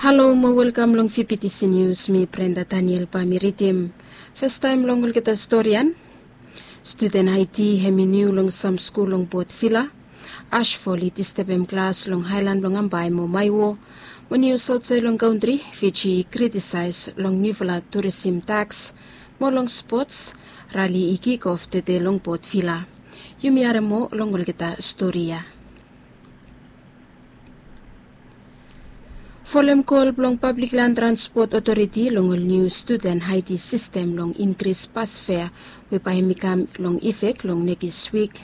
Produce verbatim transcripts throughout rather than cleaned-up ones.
Halo mo welkam long V B T C News, mi Brenda Daniel bae mi ridim. Fastaem long olgeta storian. Studen Haiti hem i niu long sam skul long Port Vila. Ashfall i distebem klas long haelan blong Ambae mo Maewo. Mo nius aotsaed long kantri, Fiji i kritisaes long niufala turisim taks. Mo long spots, rali i kikof tede long Port Vila. Yumi harem moa long olgeta stori ya. Folem kol blong Pablik Lan Transpot Otoriti long ol niu studen Haiti sistem long inkris bas fea we bae hem i kam long ifek long nekis wik.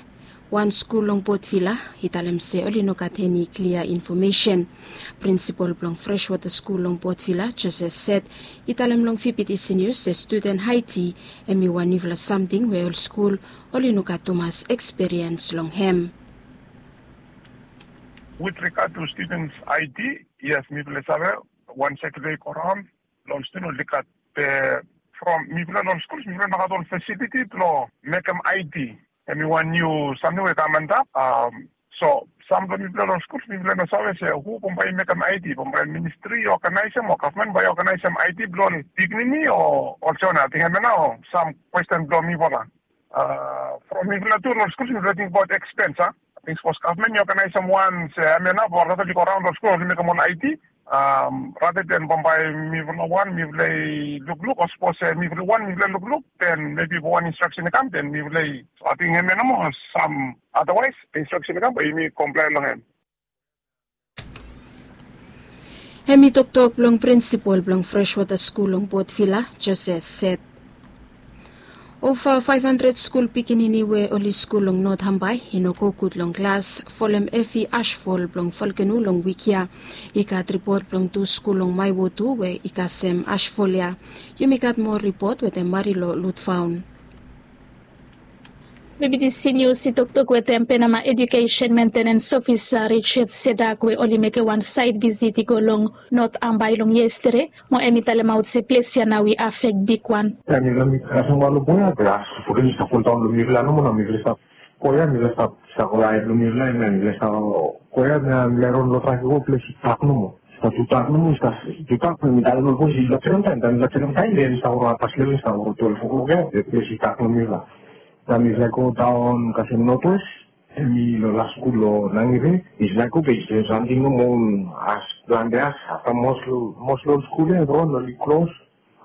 Wan skul long Port Vila i talem se oli no gat eni klia infomesen. Prinsipol blong Freshwater Skul long Port Vila, Joseph Set, i talem long V B T C News se studen Haiti hem i wan niufala samting we ol skul oli no gat tumas eksperiens long hem. With regard to students I D, yes, mifala i save wan sekretari i go raon. Long student oli gat, from mifala long skul mifala no gat ol fasiliti blong mekem I D. Hem i wan niu samting we i kam antap. So sam blong mifala long skul mifala no save se hu bambae i mekem I D, bambae ministri i oganaesem o gavman bae i oganaesem I D blong ol pikinini o ol sona. Ating hemia nao sam kwesten blong mifala. From mifala tu long skul mifala tingbaot ekspens a. Ating sapos gavman i oganaesem wan se hemia nao blong olgeta oli go raon long skul oli mekem ol I D. Rata den bambae mifala wan mifala i lukluk o sapos se mifala wan mifala i lukluk den mebi wan instraksen i kam den mifala i. So ating hemia nomo sam adawaes instraksen i kam bae yumi komplaen long hem. Hem i toktok blong prinsipol blong Freshwater Skul long Port Vila, Joseph Set. Ova faef handred skul pikinini we oli skul long Not Ambae i no go gud long klas folem evi ashfol blong volkeno long wik ya. I gat ripot blong tu skul long Maewo tu we i kasem ashfol ya. Yumi gat moa ripot wetem Marilo Lutfaun. V B T C News i toktok wetem Penama Edukesen Mentenens Ofisa Richard Sedak we oli mekem wan saed visit i go long Not Ambae long yestede. Mo hem i talemaot se ples ya nao i afek bigwan. Taem mifala mi kasem wan lo boya be as foden i stap foldaon lo mifala nomo nao mifala i stap go ya mifala i stap stap go aed lo mifala ya mifala i stap go ya mifala i ron lo trafik o ples i dak nomo. I stap tu dak nomo i stap tu dak be mi talem lo boys i stap sekem taem taem i stap sekem taem den i stap go lo apas leve i stap go lo twelef oklok ya be ples i dak lo mifala. Taem mifala i go daon kasem notwes. Hem i lo las skul lo Nangire. Is laik o be i sem samting nomo ol as plante as afta mos lo ol skul ya evriwan oli klos.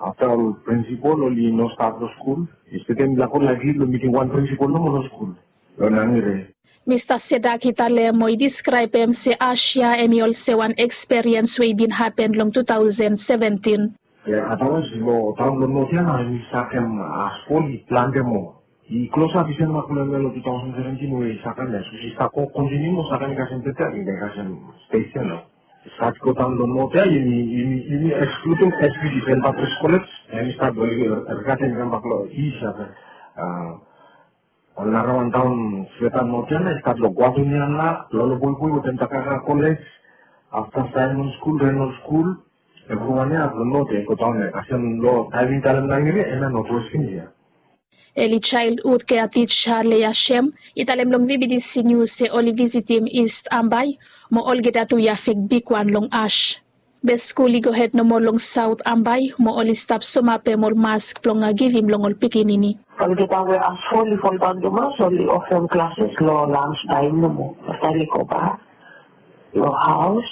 Afta ol prinsipol oli no stap lo skul. Is taem mi laik o laik lid lo miting wan prinsipol nomo lo skul lo Nangire. Mista Sedak i talem mo i diskraebem se as ya hem i olsem wan eksperiens we i bin hapen long tu taosen seventin. Adawaes lo taon lo Not ya nao hem i sakem as fol i plante moa. I klosap i sem makulem ya long tu taosen seventin we i sakem ya sapos i stap go kontiniu mo sakem i kasem tete ating i kasem stes ya nao. I stat go daon long Not ya yumi yumi yumi ekskludem S B D, Saint Patrick's College. Hem i stat go rigatem i kambak long Is ya. Ol narawan daon sweta Not ya nao i stat long Guatemala, Loloboiboi wetem Takaka College. Afta Saemon Skul, Renol Skul. Evriwan ya long Not ya i go daon ya kasem long taem mi talem Nangire hemia Notwes India. Eli Childhood Care Teacher Leah Shem i talem long V B T C News se oli visitim East Ambae mo olgeta tu i afek bigwan long as. Be skul i gohed nomo long Saot Ambae mo oli stap somapem ol mask blong givim long ol pikinini. Olgeta we as fol i foldaon tumas oli ofem klases long lans taem nomo afta oli gobak long haos.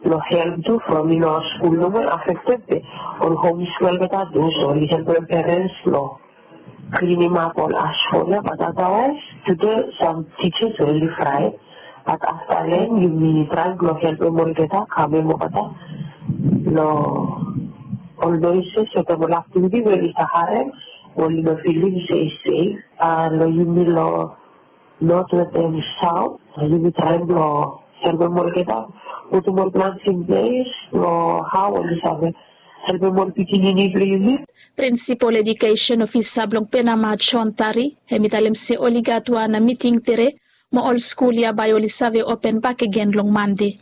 Long help tu from i no skul nomo i afekted be ol hom skul olgeta tu so oli helpem perens long klinim ap ol as fol ya bat adawaes tude sam tisas oli fraet. Bat afta lem yumi traem blong helpem olgeta kamem olgeta long ol noises wetem ol aktiviti we oli stap harem. Oli no filim se i sef long yumi long Not wetem Saot. Yumi traem blong helpem olgeta putum ol plans in ples long hao oli save helpem ol pikinini blong yumi. Prinsipol Edukesen Ofisa blong Penama John Tari hem i talem se oli gat wan miting tede mo ol skul ya bae oli save open bakegen long Mande.